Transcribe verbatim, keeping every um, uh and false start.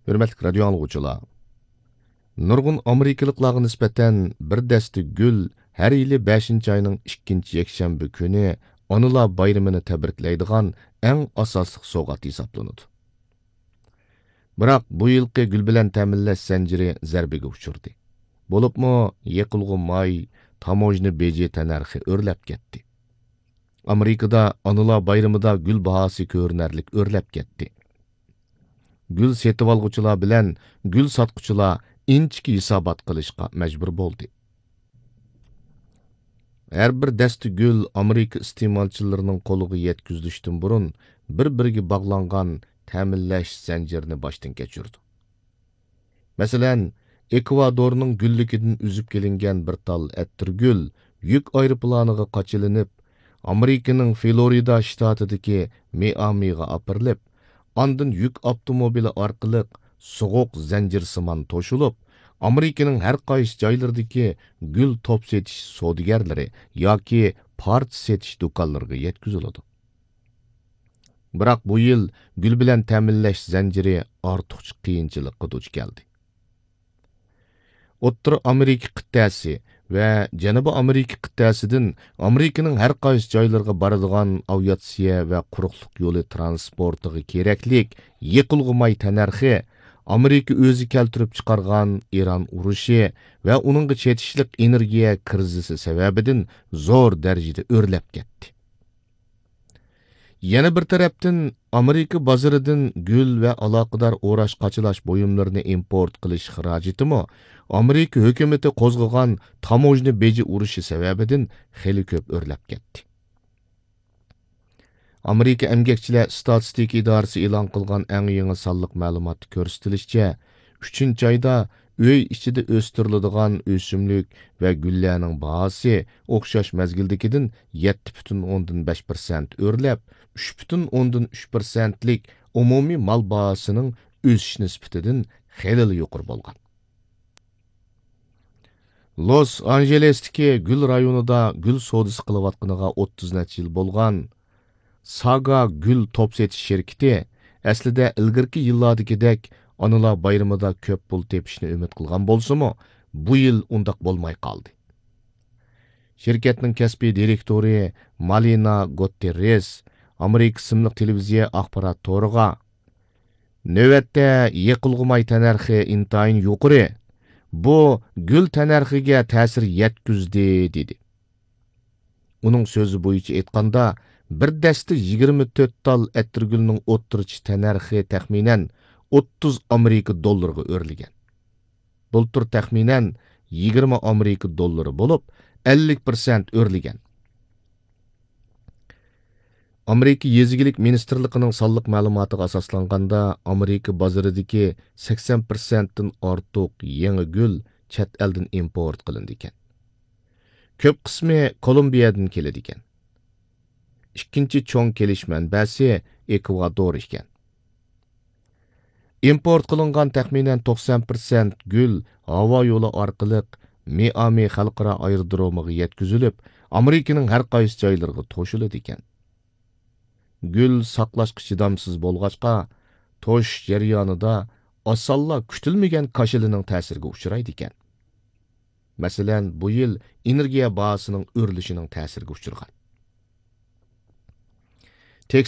ھۆرمەتلىك رادىيو ئاڭلىغۇچىلار، نۇرغۇن ئامېرىكىلىقلارغا نىسبەتەن بىر دەستە گۈل ھەر يىلى بەشىنچى ئاينىڭ ئىككىنچى يەكشەنبە كۈنى ئانىلار بايرىمىنى تەبرىكلەيدىغان ئەڭ ئاساسلىق سوۋغات ھېسابلىنىدۇ. بىراق بۇ يىلقى گۈل بىلەن تەمىنلەش زەنجىرى زەربىگە ئۇچرىدى. بولۇپمۇ يېقىلغۇ ماي، تاموژنا بېجى تەننەرخى ئۆرلەپ كەتتى. ئامېرىكىدا ئانىلار بايرىمىدا گۈل باھاسى كۆرۈنەرلىك ئۆرلەپ كەتتى. گۈل سېتىۋالغۇچىلار بىلەن گۈل ساتقۇچىلار ئىنچىكە ھېسابات قىلىشقا مەجبۇر بولدى. ھەر بىر دەستە گۈل ئامېرىكا ئىستېمالچىلىرىنىڭ قولىغا يەتكۈزۈلۈشتىن بۇرۇن بىر-بىرىگە باغلانغان تەمىنلەش زەنجىرىنى باشتىن كەچۈرىدۇ. مەسىلەن، ئېكۋادورنىڭ گۈللۈكىدىن ئۈزۈپ كېلىنگەن بىر تال ئەتىرگۈل يۈك ئايروپىلانىغا قاچىلىنىپ، ئامېرىكىنىڭ فلورىدا شتاتىدىكى مىئامىغا ئاپىرىلىپ، ئاندىن يۈك ئاپتوموبىلى ئارقىلىق سوغۇق زەنجىرسىمان توشۇلۇپ، ئامېرىكىنىڭ ھەر قايسى جايلىرىدىكى گۈل توپ سېتىش سودىگەرلىرى ياكى پارچە سېتىش دۇكانلىرىغا يەتكۈزۈلىدۇ. بىراق بۇ يىل گۈل بىلەن تەمىنلەش زەنجىرى ئارتۇقچە قىيىنچىلىققا دۇچ كەلدى. ئوتتۇرا ئامېرىكا قىتئەسى ۋە جەنۇبىي ئامېرىكا قىتئەسىدىن ئامېرىكىنىڭ ھەر قايسى جايلىرىغا بارىدىغان ئاۋىئاتسىيە ۋە قۇرۇقلۇق يولى ترانسپورتىغا كېرەكلىك يېقىلغۇ ماي تەننەرخى ئامېرىكا ئۆزى كەلتۈرۈپ چىقارغان ئىران ئۇرۇشى ۋە ئۇنىڭغا چېتىشلىق ئېنېرگىيە كىرىزىسى سەۋەبىدىن زور دەرىجىدە ئۆرلەپ كەتتى. يەنە بىر تەرەپتىن، ئامېرىكا بازىرىدىن گۈل ۋە ئالاقىدار ئوراش-قاچىلاش بۇيۇملىرىنى ئىمپورت قىلىش خىراجىتىمۇ ئامېرىكا ھۆكۈمىتى قوزغىغان تاموژنا بېجى ئۇرۇشى سەۋەبىدىن خېلى كۆپ ئۆرلەپ كەتتى. ئامېرىكا ئەمگەكچىلەر ئىستاتىستىكا ئىدارىسى ئېلان قىلغان ئەڭ يېڭى سانلىق مەلۇماتتا كۆرسىتىلىشىچە، ئۈچىنچى ئايدا ئۆي ئىچىدە ئۆستۈرۈلىدىغان ئۆسۈملۈك ۋە گۈللەرنىڭ باھاسى ئوخشاش مەزگىلدىكىدىن يەتتە پۈتۈن ئوندىن بەش پىرسەنت ئۆرلەپ، ئۈچ پۈتۈن ئوندىن ئۈچ پىرسەنتلىك ئومۇمىي مال باھاسىنىڭ ئۆسۈش نىسبىتىدىن خېلىلا يۇقىرى بولغان. لوس ئانژېلېستىكى گۈل رايونىدا گۈل سودىسى قىلىۋاتقىنىغا ئوتتۇز نەچچە يىل بولغان ساگا گۈل توپ سېتىش شىركىتى ئەسلىدە ئىلگىرىكى يىللاردىكىدەك ئانىلار بايرىمىدا كۆپ پۇل تېپىشنى ئۈمىد قىلغان بولسىمۇ، بۇ يىل ئۇنداق بولماي قالدى. شىركەتنىڭ كەسپىي دىرېكتورى مالىنا گوتتېررېس ئامېرىكا ئىسىملىق تېلېۋىزىيە ئاخبارات تورىغا، نۆۋەتتە يېقىلغۇ ماي تەننەرخى ئىنتايىن يۇقىرى. بۇ گۈل تەننەرخىگە تەسىر يەتكۈزدى، دېدى. ئۇنىڭ سۆزى بويىچە ئېيتقاندا، بىر دەستە يىگىرمە تۆت تال ئەتىرگۈلنىڭ ئوتتۇرىچە تەننەرخى تەخمىنەن ئوتتۇز ئامېرىكا دوللىرىغا ئۆرلىگەن. بۇلتۇر تەخمىنەن يىگىرمە ئامېرىكا دوللىرى بولۇپ، ئەللىك پىرسەنت ئۆرلىگەن. ئامېرىكا يېزا ئىگىلىك مىنىستىرلىقىنىڭ سانلىق مەلۇماتىغا ئاساسلانغاندا، ئامېرىكا بازىرىدىكى سەكسەن پىرسەنتتىن ئارتۇق يېڭى گۈل چەت ئەلدىن ئىمپورت قىلىنىدىكەن. كۆپ قىسمى كولومبىيەدىن كېلىدىكەن. ئىككىنچى چوڭ كېلىش مەنبەسى ئېكۋادور ئىكەن. ئىمپورت قىلىنغان تەخمىنەن توقسان پىرسەنت گۈل ھاۋا يولى ئارقىلىق مىئامى خەلقئارا ئايرودرومىغا يەتكۈزۈلۈپ، ئامېرىكىنىڭ ھەر قايسى جايلىرىغا توشۇلىدىكەن. گۈل ساقلاشقا چىدامسىز بولغاچقا، توشۇش جەريانىدا ئاسانلا كۈتۈلمىگەن كاشىلىنىڭ تەسىرىگە ئۇچرايدىكەن. مەسىلەن، بۇ يىل ئېنېرگىيە باھاسىنىڭ ئۆرلىشىنىڭ تەسىرىگە ئۇچرىغان. تېكساس